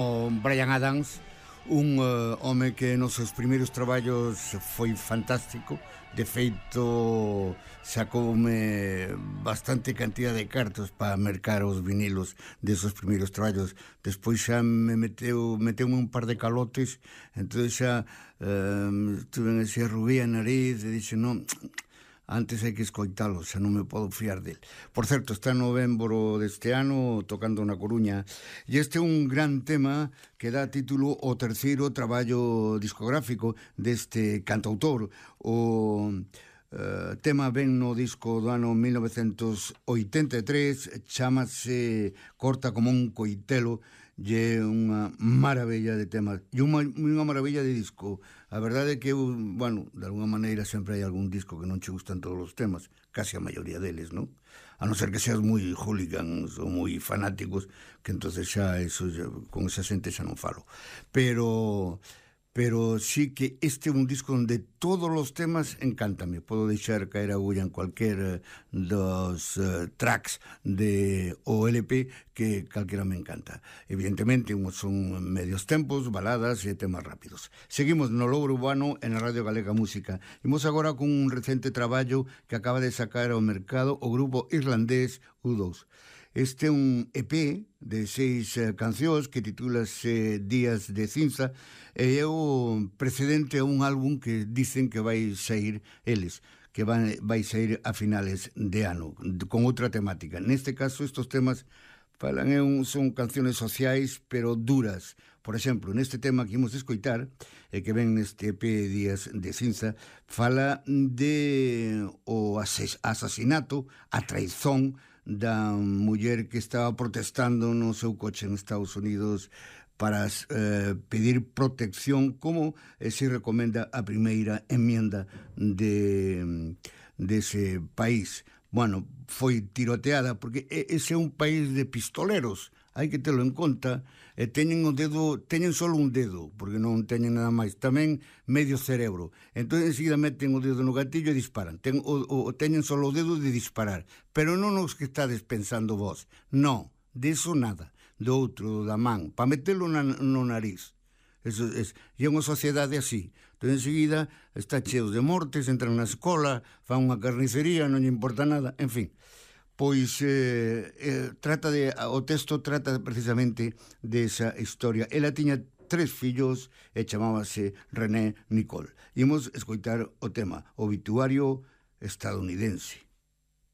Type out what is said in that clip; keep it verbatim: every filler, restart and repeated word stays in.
O Bryan Adams, un uh, home que nos seus primeiros traballos foi fantástico. De feito, sacoume bastante cantidad de cartos para mercar os vinilos desos primeiros traballos. Despois xa me meteu meteume un par de calotes, entón xa uh, tuve ese rubí a nariz e dixe, non, antes hai que escoitalo, xa non me podo fiar del. Por certo, está en novembro deste ano tocando na Coruña, e este é un gran tema que dá título ao terceiro traballo discográfico deste cantautor. O uh, tema ven no disco do ano mil novecentos oitenta e tres, chamase Corta como un coitelo, e é unha maravilla de temas e unha, unha maravilla de disco. A verdade é que eu, bueno, de alguna maneira sempre hai algún disco que non che gustan todos os temas, casi a maioría deles, non? A non ser que seas moi hooligans ou moi fanáticos, que entonces xa, eso, xa, con esa xente xa non falo. Pero pero sí que este é un disco onde todos os temas encántame. Podo deixar caer a agulla en cualquier dos uh, tracks de o L P que calquera me encanta. Evidentemente, son medios tempos, baladas e temas rápidos. Seguimos no Louro Urbano en a Radio Galega Música. Imos agora con un recente traballo que acaba de sacar ao mercado o grupo irlandés U dos. Este é un E P de seis uh, cancións que titúlase Días de Cinza, e é o precedente a un álbum que dicen que vai sair eles, que vai, vai sair a finales de ano, con outra temática. Neste caso, estos temas falan, é un, son canciones sociais, pero duras. Por exemplo, neste tema que imos escoitar, e que ven neste E P Días de Cinza, fala de o asasinato, a traizón da muller que estaba protestando no seu coche en Estados Unidos para eh, pedir protección, como eh, se recomenda a primeira enmienda de dese país. Bueno, foi tiroteada porque ese é un país de pistoleros, hai que telo en conta, e teñen o dedo, teñen solo un dedo, porque non teñen nada máis, tamén medio cerebro. Entón, enseguida meten o dedo no gatillo e disparan. Ten, o, o, teñen solo o dedo de disparar, pero non os que estades pensando vos. Non, de iso nada, do outro, da man, para metelo na, no nariz. Eso es, e é unha sociedade así. Entón, enseguida está cheos de mortes, entran na escola, fan unha carnicería, non lle importa nada, en fin. Pois eh, eh, trata de, o texto trata precisamente desa historia. Ela tiña tres fillos e chamábase René Nicole. Imos escoitar o tema Obituario estadounidense.